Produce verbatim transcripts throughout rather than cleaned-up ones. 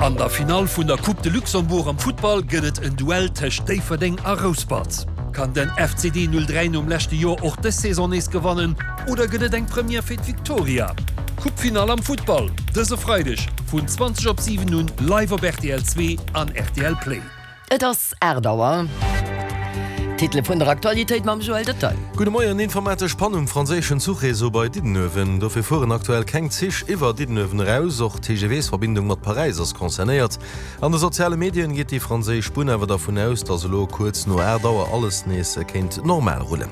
An der Finall vun der Coupe de Luxembourg am Futtball gëtt et en Duell tëscht Déifferdeng a Rouspert. Kann den F C D null dräi nom leschte Joer och dës Saison nees gewannen oder gëtt et eng Première fir d'Victoria? Coupe-Finall am Futtball dëse Freideg vun zwanzeg op siwen un live op R T L zwee an R T L Play. Et ass aacht Auer. D'Titele vun der Aktualitéit mam Joël Detail. Gudde Moien. Informatesch Pann um franséischen Zuchreseau bei Diddenuewen. Dofir fueren aktuell keng Zich iwwer Diddenuewen eraus. Och d'T G V-Verbindung mat Paräis ass concernéiert. An de soziale Medien geet déi franséisch Bunn awer dervun aus, datt elo kuerz no aacht Auer alles nees kéint normal rullen.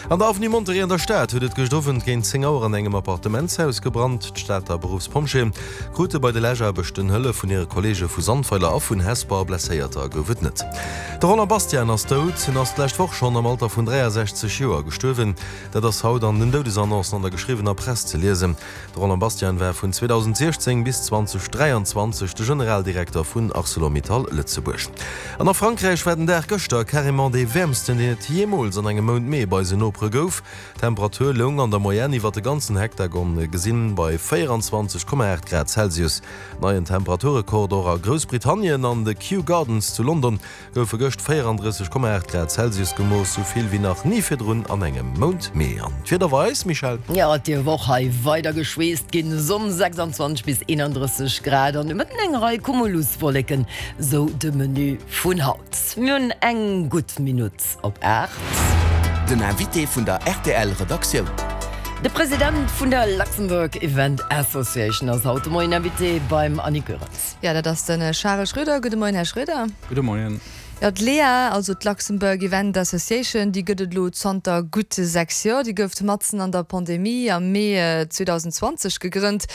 An der Avenue Monterey an der Stad huet et gëscht Owend géint zéng Auer an engem Appartementshaus gebrannt. D'Stater Beruffspompjeeë krute bei de Läschaarbechten Hëllef vun hire Kolleege vu Sandweiler a vun Hesper. Blesséierter gouf et net. De Roland Bastian ass dout. Hien ass d'lescht Woch schonn am Alter vun dräiasechzeg Joer gestuerwen. Dat ass haut an den Doudesannoncen an der geschriwwener Press ze liesen. De Roland Bastian war vun zweedausendsiechzéng bis zweedausenddräianzwanzeg de Generaldirekter vun Arcelor-Mittal Lëtzebuerg. An a Frankräich war den Dag gëschter carrément dee wäermsten, deen et jeemools an engem Mount Mee bei eisen Nopere gouf. D'Temperatur loung an der Moyenne iwwer de ganzen Hektagon gesinn bei véieranzwanzeg Komma aacht Grad Celsius. Neien Temperaturrekord och a Groussbritannien, An de Kew Gardens zu London goufe gëscht véierandrësseg Komma aacht Grad Celsius gemooss, sou vill wéi nach ni virdrun an engem Mount Mee. An d'Wieder bei eis, Michèle? Jo, et dierf och hei weider geschweesst ginn. Sonn, sechsanzwanzeg bis eenandrësseg Grad an de Mëtten eng Rei Cumuluswolleken, sou de Menu vun haut. Mir hunn eng gutt Minutt op aacht. Den Invité vun der R T L Redaktioun. De President vun der Luxembourg Event Association ass haut de Moien Invité beim Annie Goerens. Ja, dat ass den Charel Schroeder. Gudde Moien, Här Schroeder. Gudde Moien. Ja, d'LEA, also d'Luxembourg Event Association, déi gëtt et elo zanter gutt sechs Joer. Déi gouf matzen an der Pandemie am Mee zweedausendenzwanzeg gegrënnt.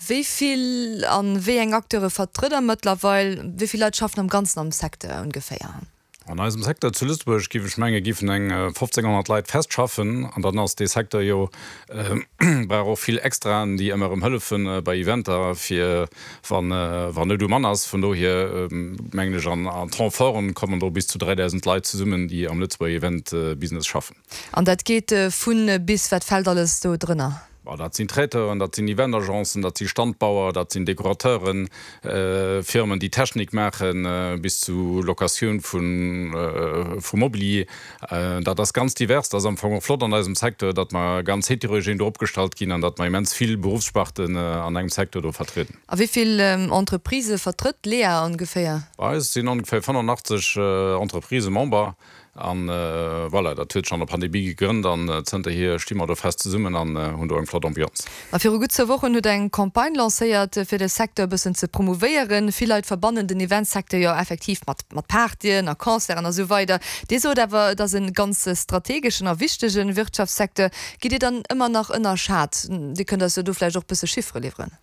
Wéi vill an wéi eng Acteure vertrëtt der mëttlerweil? Wéi vill Leit schaffen am Ganzen am Secteur ongeféier? An eisem Secteur zu Lëtzebuerg géif ech menge géifen eng fofzénghonnert Leit fest schaffen an dann ass de Secteur jo äh, brauch och vill Extraen, déi ëmmer ëm hëllefen äh, bei Eventer fir wann äh, wann Nout um Mann ass. Vun dohier äh, mengen ech an, an Renforten kommen do bis zu dräidausend Leit zesummen, déi am Lëtzebuerger Event äh, Business schaffen. An dat geet äh, vun bis, wat fält alles do drënner? Bah, dat sinn Traiteuren, dat sinn Eventagencen, dat si Standbauer, dat sinn Dekorateuren, äh, Firmen, déi Technik maachen, äh, bis zu Locatioun vun äh, vu Mobilier. Äh, dat ass ganz divers, dat ass am Fong och flott an eisem Secteur, datt mer ganz heterogen do opgestallt ginn an datt mer immens vill Beruffssparten äh, an engem Secteur do vertrieden. A wéi vill ähm, Entreprisë vertrëtt d'LEA ongeféier? Bei eis sinn ongeféier fënnefenachtzeg äh, Entreprisë Member an äh, voilà, dat huet schonn an der Pandemie gegrënnt an äh, zënterhier sti mer do fest zesummen an äh, hunn do eng flott Ambiance. A viru gutt zwou Wochen hutt der eng Campagne lancéiert fir de Secteur e bëssen ze promouvéieren. Vill Leit verbannen den Eventsecteur jo effektiv mat mat Partyen a Concerten a sou weider. Dir sot awer, dat ass e ganz strategeschen a wichtege Wirtschaftssecteur. Gëtt deen dann ëmmer nach ënnerschat? Dir kënnt eis do vläicht och bësse Chiffere liwweren.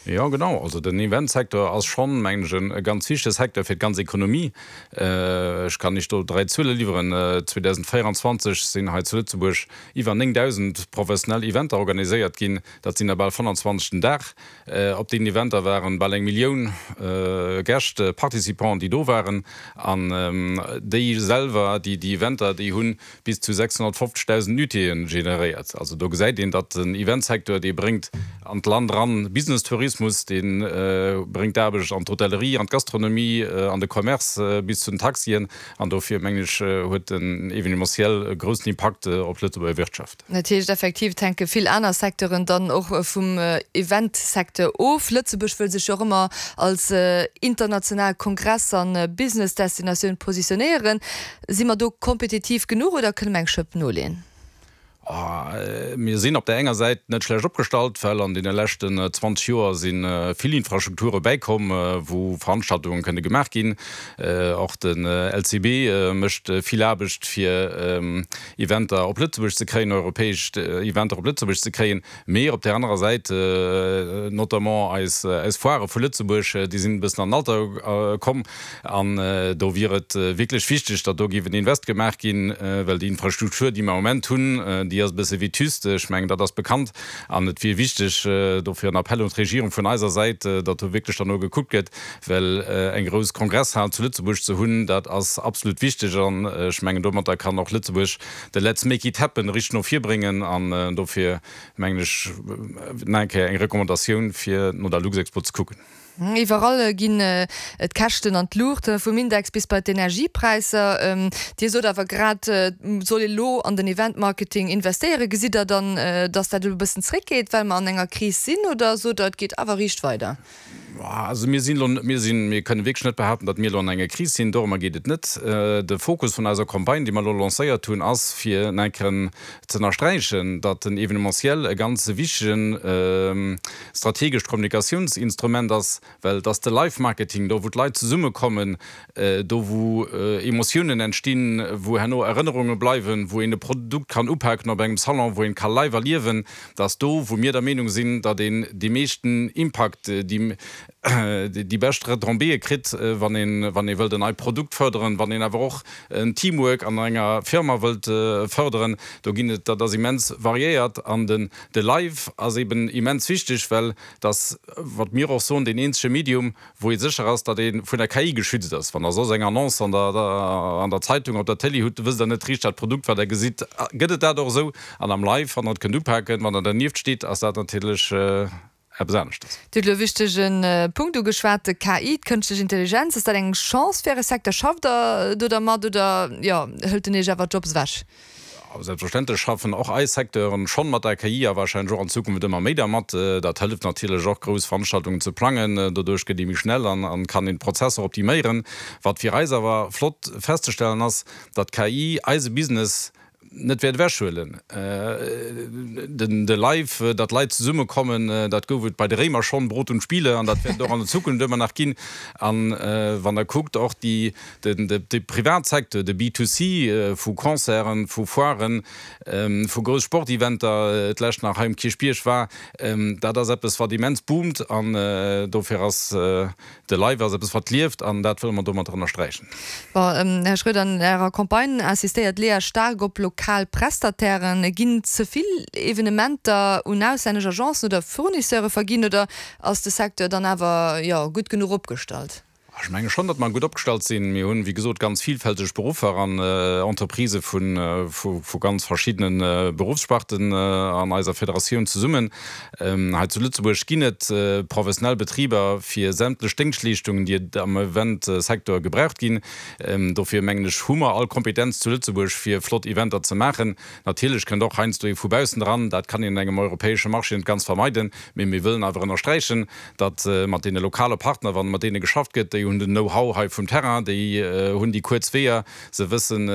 Ja, genau. Also den Eventsecteur ass schonn mengen ech e ganz wichtege Secteur fir d'ganz Ekonomie. Äh, ech kann iech do dräi Zuele liwweren. Äh, zweedausendvéieranzwanzeg sinn hei zu Lëtzebuerg iwwer néngdausend professionell Eventer organiséiert ginn. Dat sinn der bal fënnefenzwanzeg den Dag. Äh, op den Eventer waren bal eng Millioun äh, Gäscht, Participanten, déi do waren. An ähm, déi selwer, déi déi Eventer, déi hunn bis zu sechshonnertfofzegdausend Nuitéeën generéiert. Also do gesäit een, datt den Eventsecteur, dee bréngt an d'Land ran Business-Tourismus, deen äh, bréngt Aarbecht an d'Hotellerie, an d'Gastronomie, äh, an de Commerce äh, bis zu den Taxien. An dofir mengen ech äh, huet den Evenementiel e groussen Impakt äh, op d'Lëtzebuerger Wirtschaft. Natierlech effektiv hänke vill aner Secteuren dann och äh, vum äh, Eventsecteur of. Lëtzebuerg wëll sech jo ëmmer als äh, international Kongress an äh, Business-Destinatioun positionéieren. Si mer do kompetitiv genuch oder kënne mer eng Schëpp noleeën? Oh, mir sinn op der enger Säit net schlecht opgestallt, well an deene leschten zwanzeg Joer si vill Infrastrukture bäikomm, wou Veranstaltunge kënne gemaach ginn. Och den L C B mécht vill Aarbecht fir Eventer op Lëtzebuerg ze kréien, europäesch Eventer op Lëtzebuerg ze kréien. Mee op der anerer Säit, notamment eis eis Foire vu Lëtzebuerg, déi sinn e bëssen an Alter komm an do wier et wierklech wichteg, datt do géif en Invest gemaach ginn, well déi Infrastruktur, déi mer am Moment hunn, déi ass e bësse vétuste, ech mengen dat ass bekannt an et wier wichteg, dofir en Appell un d'Regierung vun eiser Säit, datt do wierklech dann no gekuckt gëtt, well eng grouss Kongresshal zu Lëtzebuerg ze hunn, dat ass absolut wichteg an ech mengen domatter kann och Lëtzebuerg de Let's make it happen richteg no vir bréngen an dofir mengen ech nach eng Kéier eng Recommandatioun fir no der Luxexpo ze kucken. Iwwerall ginn d'Käschten an d'Luucht, vum Index bis bei d'Energiepräisser. Dir sot awer grad, et soll ee lo an den Eventmarketing investéieren. Gesitt Der dann, datt dat elo e bëssen zréckgeet, well mer an enger Kris sinn, oder sot Der, et geet awer riicht weider? Also mir sinn elo, mir sinn, mir kënne wierklech net behaapten, datt mir elo an enger Kris sinn. Dorëmmer geet et net. De Fokus vun eiser Campagne, déi mer elo lancéiert hunn, ass fir nach eng Kéier ze ënnersträichen, datt den Evenementiel e ganz wichtegen strategescht Kommunikatiounsinstrument ass, well et ass de Live-Marketing, do wou d'Leit zesummekommen, do wou Emotiounen entstinn, wou herno Erënnerunge bleiwen, wou een e Produkt kann upaken op engem Salon, wou een ka live erliewen, dat ass do wou mir der Meenung sinn, datt een dee meeschten Impakt, déi déi bescht Retombéeë kritt, wann een, wann ee wëllt en neit Produkt fërderen, wann een awer och en Teamwork an enger Firma wëllt fërderen. Do ginn et, dat ass immens variéiert an den, de Live ass eben immens wichteg, well et ass, wat mir och soen, deen eenzege Medium, wou ee sécher ass, datt ee vun der K I geschützt ass. Wann Der soss eng Annonce an der, an der Zeitung, op der Télé hutt, wësst Der net richteg, dat Produkt, wat Der gesitt, gëtt et dat och esou? An am Live, wann Der et kënnt upaken, wann Der dernieft steet, ass dat natierlech eppes aneschters. Dir hutt elo e wichtege Punkt ugeschwat, de K I, d'Kënschtlech Intelligenz. Ass dat eng Chance fir Äre Secteur? Schafft Der do dermat oder, jo, hëlt en Iech awer d'Jobs ewech? Selbstverständlech schaffen och eis Secteuren schonn mat der K I a warscheinlech och an Zukunft ëmmer méi dermat. Dat hëlleft natierlech och, grouss Veranstaltungen ze plangen. Doduerch gëtt ee méi schnell an kann een d'Prozesser optiméieren. Wat fir eis awer flott festzestellen ass, datt d'K I eise Business net wäert ewechhuelen. Den de Live, datt Leit zesummekommen, dat gouf et bei de Réimer schonn, Brot und Spiele, an dat wäert et och an der Zukunft ëmmer nach ginn. An wann Der kuckt, och déi, den de Privatsecteur, de B two C vu Concerten, vu Foiren, vu grouss Sporteventer, d'lescht nach hei um Kierchbierg war, dat ass eppes, wat immens boomt. An dofir ass de Live ass eppes, wat lieft, an dat wëlle mer domat ënnersträichen. Bon, Här Schroeder, an Ärer Campagne insistéiert d'Léa staark op lokal Prestatairen. Ginn ze vill Evenementer un auslännesch Agencen oder Fournisseure verginn oder ass de Secteur dann awer, jo, gutt genuch opgestallt? Ech menge schonn, datt mer gutt opgestallt sinn. Mir hunn, wéi gesot, ganz vielfälteg Beruffer an Entreprisë vu ganz verschiddene Beruffssparten an eiser Federatioun zesummen. Hei zu Lëtzebuerg ginn et professionell Betriber fir sämtlech Déngschtleeschtungen, déi et am Eventsecteur gebraucht ginn. Dofir mengen ech, hu mer all Kompetenz zu Lëtzebuerg, fir flott Eventer ze maachen. Natierlech kënnt och heiansdo ee vu baussen dran. Dat kann een an engem europäesche Marché net ganz vermeiden. Mee mir wëllen awer ënnersträichen, datt mat deene lokale Partner, wann mat deene geschafft gëtt, déi hunn den Know-how hei vum Terrain, déi hunn déi kuerz Weeër, se wëssen,